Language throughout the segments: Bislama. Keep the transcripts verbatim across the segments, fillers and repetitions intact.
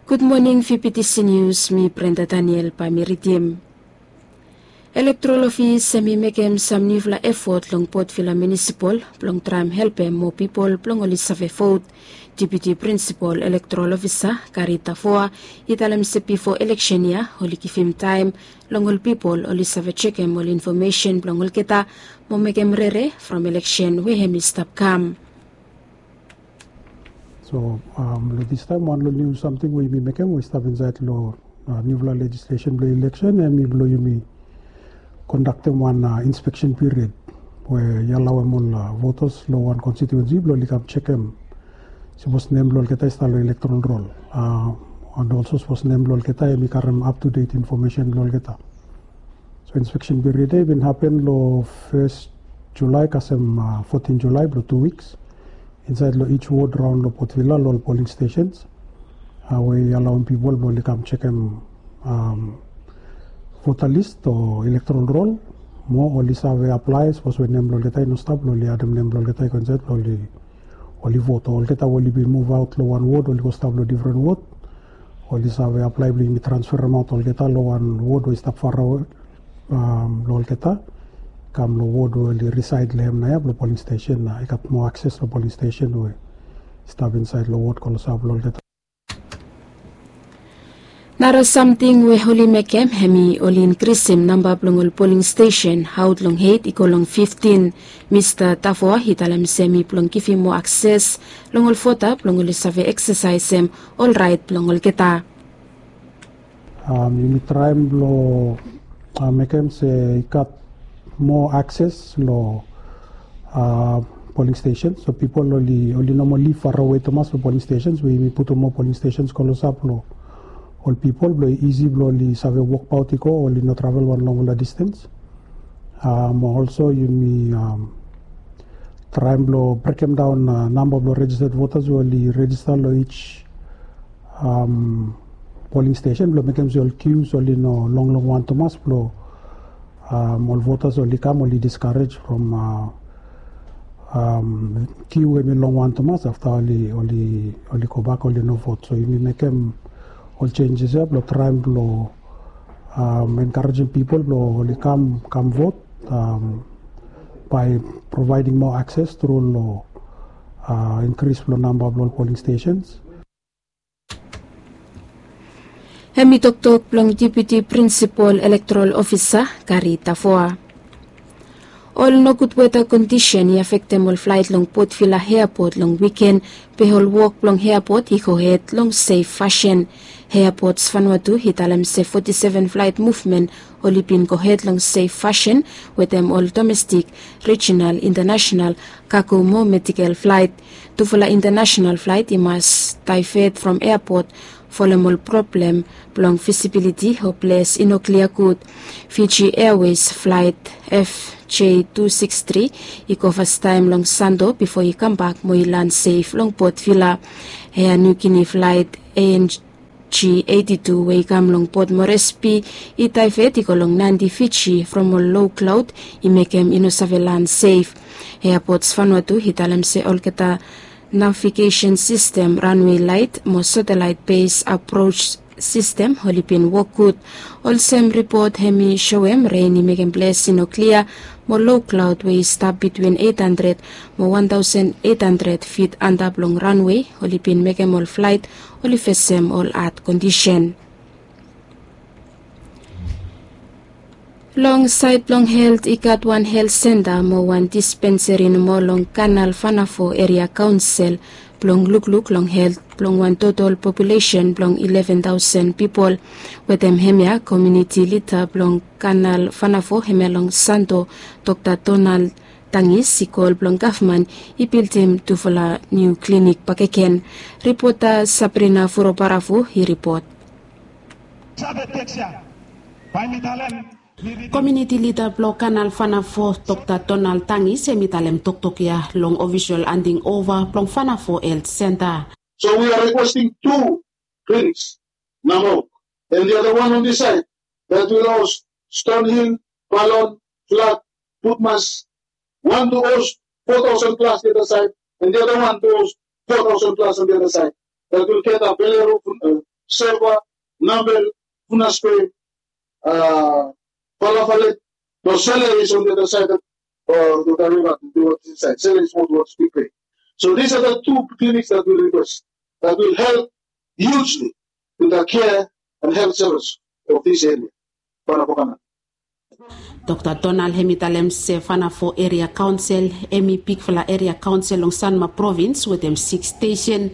Gud moning, fifty C News, mi Brenda Daniel bae mi ridim. Elektorol ofis hem i mekem sam niufala efot long Port Vila Munisipal blong traem helpem moa pipol blong oli save vot. Deputi Prinsipal Elektorol Ofisa Gary Tavoa i talem se bifo eleksen ya oli givim taem long ol pipol oli save jekem ol infomesen blong olgeta mo mekem rere from eleksen we hem i stap kam. So long distaem wan long niu samting we yumi mekem we i stap insaed long niufala lejislesen blong eleksen hem i blong yumi kondaktem wan inspeksen piriod we i alaoem ol votas long wan konstituensi blong oli kam jekem sapos nem blong olgeta i stap long elektorol rol. And olso sapos nem blong olgeta hem i karem aptudet infomesen blong olgeta. So inspeksen piriod ya i bin hapen long fes Julae kasem fotin Julae blong tu wiks insaed long ij wod raon long Port Vila long ol poling stesens we i alaoem pipol blong oli kam jekem vota lis o elektorol rol mo oli save aplae sapos we nem blong olgeta i no stap blong oli adem nem blong olgeta i go insaed blong oli vot o olgeta we oli bin muvaot long wan wod oli go stap long difren wod oli save aplae blong yumi transferemaot olgeta long wan wod we i stap farawe long olgeta kam long wod we oli risaed long hem nao ya blong poling stesen na i gat moa akses long poling stesen we i stap insaed long wod klosap long olgeta. Nara samting we oli mekem hem i oli inkrisim namba blong ol poling stesen aot long eit i go long fiftin. Mista Tavoa i talem se hem i blong givim moa akses long ol vota blong oli save eksesaesem ol raet blong olgeta. Yumi traem blong mekem se i gat moa akses long poling stesen so pipol oli oli no moa liv farawe tumas long poling stesen we yumi putum moa poling stesen klosap long ol pipol blong isi blong oli save wokbaot i go oli no travel wan longfala distens. Mo olso yumi traem blong brekemdaon namba blong rejisted votas we oli rejista long ij poling stesen blong mekem se ol kius oli no longlong wan tumas blong ol votas oli kam oli diskarej from kiu hem i long wan tumas afta oli oli oli gobak oli no vot so yumi mekem ol jenjes ya blong traem blong enkarejim pipol blong oli kam kam vot bae provaeding moa akses tru long inkris blong namba blong ol poling stesens. Hem i toktok blong deputi prinsipol elektorol ofisa Gari Tavoa. Ol nogud weta kondisen i afektem ol flaet long Port Vila eapot long wiken, be ol wok blong eapot i gohed long sef fasin. Eapot Vanuatu i talem se foti seven flaet muvmen oli bin gohed long sef fasin wetem ol domestik, rejinal, intanasenal kago mo medikel flaet. Tufala intanasenal flaet i mas daevet from eapot folem ol problem blong visibiliti o ples i no klia gud. Fiji Airways flaet F J two six three i go fastaem long Sando bifo i kambak mo i lan sef long Port Vila. Ea Niu Gini flaet A N G eighty two we i kam long Port Moresby i daevet i go long Nadi, Fiji from ol loklaod i mekem i no save lan sef. Eapot Vanuatu i talem se olgeta navigesen sistem, ranwe laet mo satelaet bes apros sistem oli bin wok gud. Olsem ripot hem i soem ren i mekem ples i no klia mo loklaod we i stap bitwin eit handred mo wan taosen eit handred fit antap long ranwe oli bin mekem ol flaet oli fesem ol had kondisen. Long saed blong helt i gat wan helt senta mo wan dispenseri nomo long Kanal Vanafo Eria Kaonsel blong lukluk long helt blong wan totol populesen blong ileven taosen pipol. Wetem hemia komiuniti lida blong Kanal Vanafo hemia long Sando, Dokta Donald Tangis i kol blong gavman i bildim tufala niu klinik bakegen. Ripota Sabrina Furobaravu i ripot. Komiuniti lida blong Kanal Vanafo Dokta Donald Tangis hem i talem toktok ya long ofisol anding ova blong Vanafo Helt Senta. So we are requesting two clinics, Namok, and the other one on this side that will host Stonehill, Balon, Flat, Putmas, one to host four thousand plus the other side, and the other one to host four thousand plus on the other side. That will cater Valeru, uh, Seba, Nabel, Funaspe, uh, Palafale. The Sele is on the other side of uh, the river, towards this side. Sele is more towards Big Bay. So these are the two clinics that we request that will help hugely to the care and health service of this area. Panapokana. Dr Donald hem i talem se Fanafo Eria Kaonsel hem i bigfala eria kaonsel long Sanma Provins wetem siks stesen.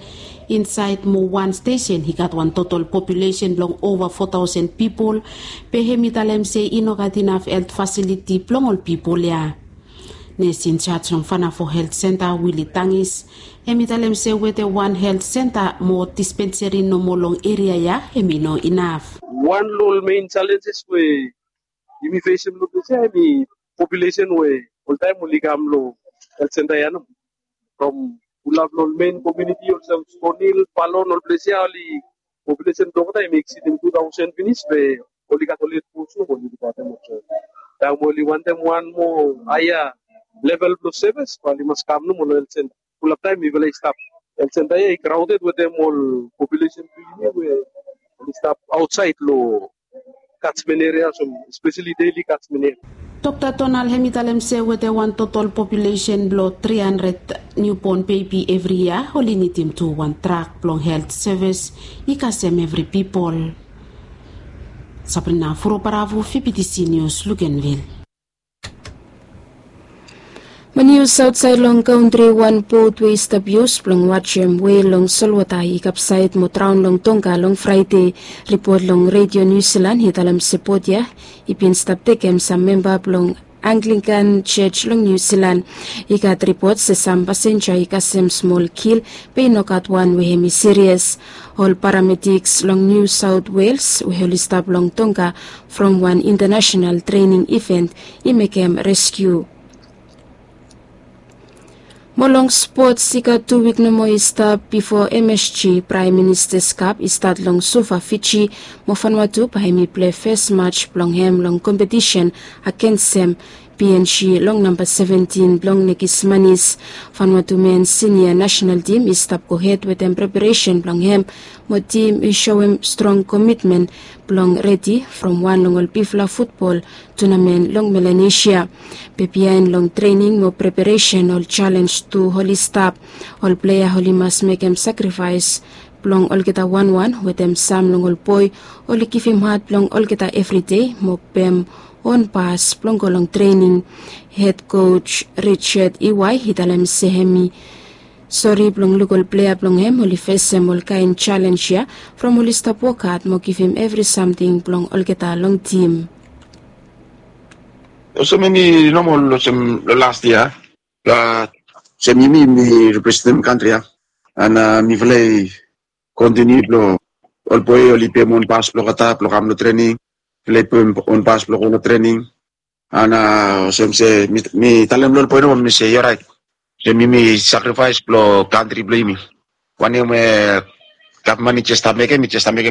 Insaed mo wan stesen i gat wan totol populesen blong ova fo taosen pipol. Be hem i talem se i no gat inaf helt fasiliti blong ol pipol ya. Nes injaj long Fanafo Helt Senta Wili Tangis hem i talem se wetem wan helt senta mo dispenseri nomo long eria ya hem i no inaf. Wan long ol mein jalenjes we yumi fesem long ples ya hem i populesen we oltaem oli kam long helt senta ya nomo. From ol lav long ol mein komiuniti olsem Stonhill, Palon, ol ples ya oli populesen blong olgeta hem i eksidim tu taosen finis be oli gat ol hed pos nomo oli lukaotem olsem. Taem oli wantem wan moa haea level blong sevis bae oli mas kam nomo long helt senta. Fulap taem mifala i stap helt senta ya i kraoded wetem ol populesen blong yumi ya we oli stap aotsaed long kajmen eria olsem espeseli deli kajmen eria. Dr Donald hem i talem se wetem wan totol populesen blong tri handred niubon bebi evri yia oli nidim tu wan trak blong helt sevis i kasem evri pipol. Sabrina Furobaravu, Fibitisi Nius, Lukenvil. Mani yu saotsaed long kantri wan bot we i stap yus blong wajem wel long solwota i kapsaed mo draon long Tonga long Fraede. Ripot long Redio Niu Silan i talem se bot ya i bin stap tekem sam memba blong Anglikan Jos long Niu Silan. I gat ripot se sam pasenja i kasem smol kil be i no gat wan we hem i sirias. Ol paramediks long Niu Saot Wels we oli stap long Tonga from wan intanasenal trening iven i mekem reskiu. Mo long spots i gat tu wik nomo i stap bifo msg praem ministas kap i stat long suva fiji. Mo fanwatu bae hem i pilei fes maj blong hem long kompetisen agensem png long namba seventin blong nekis manis. Fanwatu men sinia nasenal tim i stap gohed wetem preparesen blong hem mo tim i soem strong komitmen blong redi from wan long ol bigfala futbol tunamen long melanesia. Be biaen long trening mo preparesen ol jalenj tu oli stap. Ol plea oli mas mekem sakrifaes blong olgeta wanwan wetem sam long ol boe oli givim hat blong olgeta evridei mo pem on pas blong go long trening. Hed koj Richard Iwai i talem se hem i sori blong luk ol plea blong hem oli fesem ol kaen jalenj ya from oli stap wokhat mo givim evri samting blong olgeta long tim. Olsem em i nomol olsem long las yia. Olsem yumi yumi representem kantri ya. An mifala i kontiniu blong ol boe oli pem on pas blong olgeta blong kam long trening. Mifala i pem on pas blong go long trening. An olsem se mi talem long ol boe nomo mi se i oraet. Olsem yumi sakrifaes blong kantri blong yumi. Wanem we gavman i jes stap mekem i jes stap mekem.